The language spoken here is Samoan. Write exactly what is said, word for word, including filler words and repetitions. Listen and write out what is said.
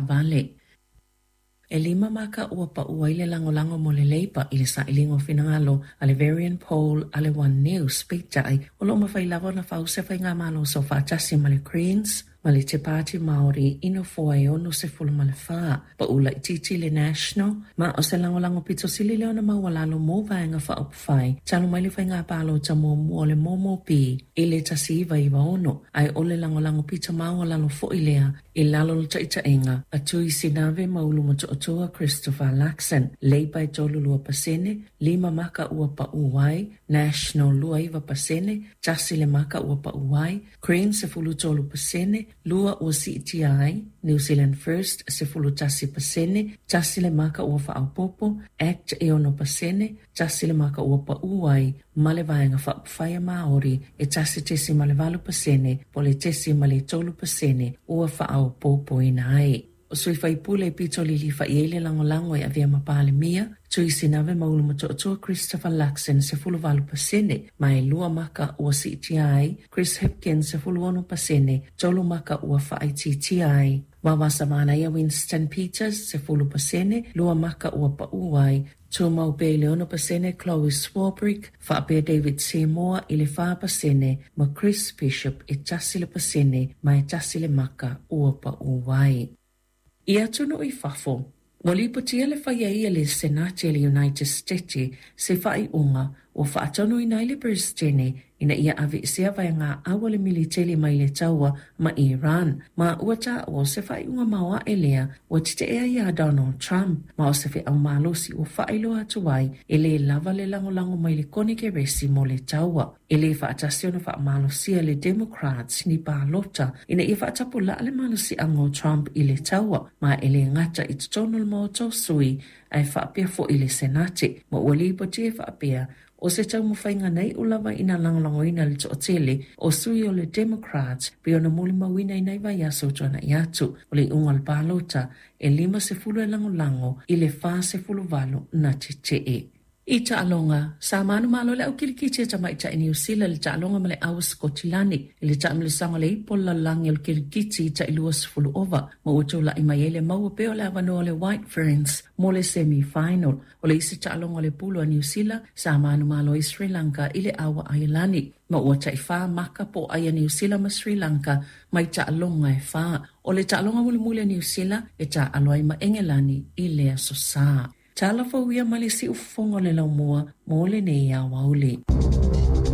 Vale. E lima maka ua paʻu ai le lagolago mo le Labour i le sailiga o finagalo a le Verian Poll a le One News, peitai o lo o mafai lava ona fau se faigamalo soofaatasi ma le Greens ma le Te Pāti Māori i nofoa e ono sefulu ma le fa. Paʻu laitiiti le National, ma o se lagolago pito sili lea ona maualalo mo Vaega Faaupufai talu mai le faiga palota muamua o le M M P i le tasi iva iva ono, ae o le lagolago pito maualalo foi lea i lalo o le taitaiga a Tui Sinave ma Ulumotootua Christopher Luxon. Labour e tolu lua pasene, lima maka ua paʻu ai, National lua iva pasene, tasi le maka ua paʻu ai, Greens sefulu tolu pasene, lua ua siitia ai, New Zealand First sefulu tasi pasene, tasi le maka ua faaopoopo, ACT e ono pasene, tasi le maka ua paʻu ai, ma le Vaega Faaupufai a Māori e tasi tesima le valu pasene, po o le tesima le tolu pasene ua faaopoopoina ai. O sui faipule pito lilifa i ai le lagolago e avea ma Palemia, Tui Sinave ma Ulumotootua Christopher Luxon sefulu valu pasene, ma e lua maka ua siitia ai, Chris Hipkins sefulu ono pasene, tolu maka ua faaitiitia ai. Vaovaosa Winston Peters sefulu pasene, lua maka ua paʻu ai, tumau pea i le ono pasene Chlodwig Swarbrick, faapea David Seymour i le fa pasene, ma Chris Bishop e tasi le pasene, ma e tasi le maka ua paʻu ai. I atunuu i fafo, ua lipotia le faia ai e le Senate o le United States se faaiuga ua faatonuina ai le Peresetene ina ia aveesea vaegaau a le militeli mai le taua ma Iran, ma ua taua o se faaiuga maoae lea ua tetee ai ia Donald Trump, ma o se feau malosi ua faailoa atu ai e lē lava le lagolago mai le Konekeresi mo le taua. E lē faatasi ona faamalosia le Democrats ni palota ina ia faatapulaa le malosiaga o Trump i le taua, ma e lē gata i totonu o le Maota o Sui ae faapea fo'i le Senate, ma ua lipotia e faapea o se taumafaiga na iu lava ina lagolagoina le toatele o sui o le Democrats pei ona molimauina i nai vaiaso ua tuana'i atu. O le iuga o le palota e lima sefulu e lagolago i le fa sefulu valu na tetee. I taaloga, sa manumalo le au kilikiti a tamaitai Niu Sila i le taaloga ma le au Skotilani i le taamilosaga o le Ipu o le Lalolagi o le Kilikiti i tai lua sefulu ova, ma ua tula'i mai ai le maua pea o le avanoa o le White Ferns mo le semi-final. O le isi taaloga o le pulu a Niu Sila, sa manumalo ai Sri Lanka i le au a Aialani, ma ua taifā maka pōʻai a Niu Sila ma Sri Lanka mai taaloga e fā. O le taaloga mulimuli a Niu Sila e taaalo ai ma Engelani i le aso Sā. Tala fou ia mai le siufofoga o le laumua mo lenei aoauli.